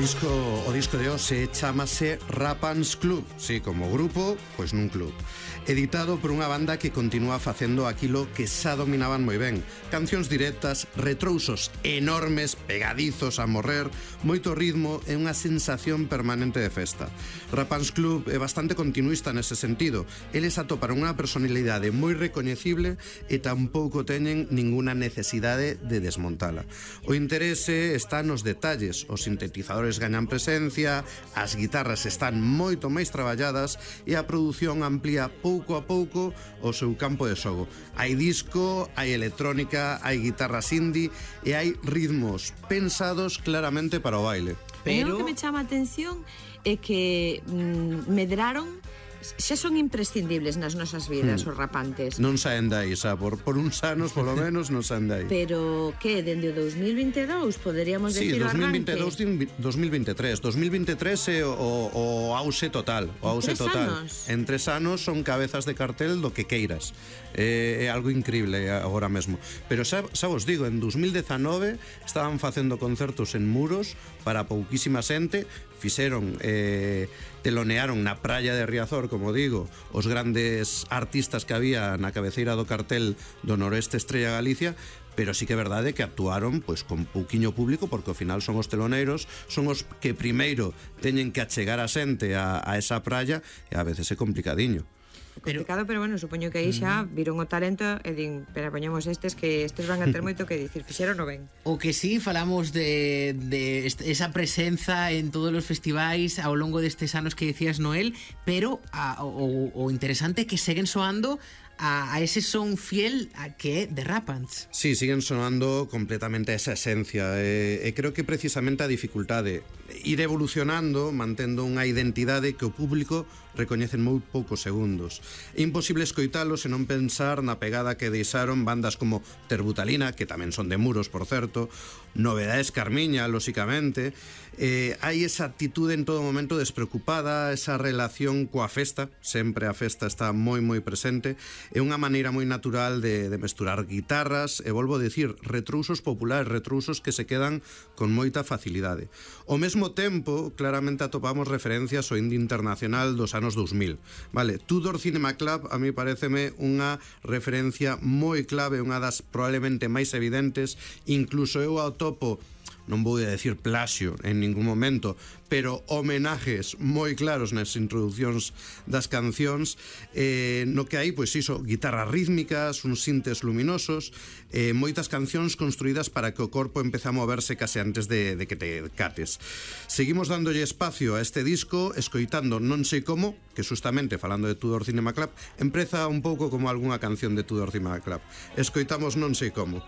O disco de hoxe chámase Rapans Club. Sí, como grupo, pois nun club. Editado por unha banda que continúa facendo aquilo que xa dominaban moi ben. Cancións directas, retrousos enormes, pegadizos a morrer, moito ritmo e unha sensación permanente de festa. Rapans Club é bastante continuista nese sentido. Eles atoparon unha personalidade moi recoñecible e tampouco teñen ninguna necesidade de desmontala. O interese está nos detalles. Os sintetizadores gañan presencia, as guitarras están moito máis traballadas e a produción amplía pouco a pouco o seu campo de xogo. Hai disco, hai electrónica, hai guitarras indie e hai ritmos pensados claramente para o baile. Pero o que me chama a atención é que medraron, xa son imprescindibles nas nosas vidas os rapantes. Non saen dai, xa, por uns anos, polo menos, non saen dai. Pero, que, dende o 2022, poderíamos decir o arranque? Sí, 2022, 2023 é o auxe total. O auxe total. En 3 anos son cabezas de cartel do que queiras. É algo increíble agora mesmo. Pero xa vos digo, en 2019 estaban facendo concertos en Muros para pouquísima xente, fixeron, telonearon na praia de Riazor, como digo, os grandes artistas que había na cabeceira do cartel do Noroeste Estrella Galicia, pero sí que é verdade que actuaron pois con pouquiño público, porque ao final son os teloneiros, son os que primeiro teñen que achegar a xente a esa praia e a veces é complicadiño. Complicado, pero bueno, supoño que aí xa viron o talento e din, pero poñemos estes que estes van a ter moito que dicir, fixeron o ben. O que sí, falamos de esa presenza en todos os festivais ao longo destes anos que decías, Noel, pero o interesante é que seguen soando a ese son fiel que é de Rapans. Sí, siguen sonando completamente a esa esencia e creo que precisamente a dificultade ir evolucionando, mantendo unha identidade que o público recoñece en moi poucos segundos. É imposible escoitalo se non pensar na pegada que deixaron bandas como Terbutalina, que tamén son de Muros, por certo, Novedades Carmiña, lóxicamente. Hai esa actitude en todo momento despreocupada, esa relación coa festa, sempre a festa está moi moi presente. É unha maneira moi natural de mesturar guitarras e, volvo a dicir, retrousos populares, retrousos que se quedan con moita facilidade. Ao mesmo tempo, claramente atopamos referencias ao indie internacional dos anos 2000. Vale, Tudor Cinema Club a mí pareceme unha referencia moi clave, unha das probablemente máis evidentes, incluso eu atopo, non vou a decir plaxio en ningún momento, pero homenajes moi claros nas introducións das cancións, no que hai, pois iso, guitarras rítmicas, uns sintes luminosos, moitas cancións construídas para que o corpo empece a moverse case antes de que te cates. Seguimos dándolle espacio a este disco, escoitando Non sei como, que justamente, falando de Tudor Cinema Club, empreza un pouco como algunha canción de Tudor Cinema Club. Escoitamos Non sei como.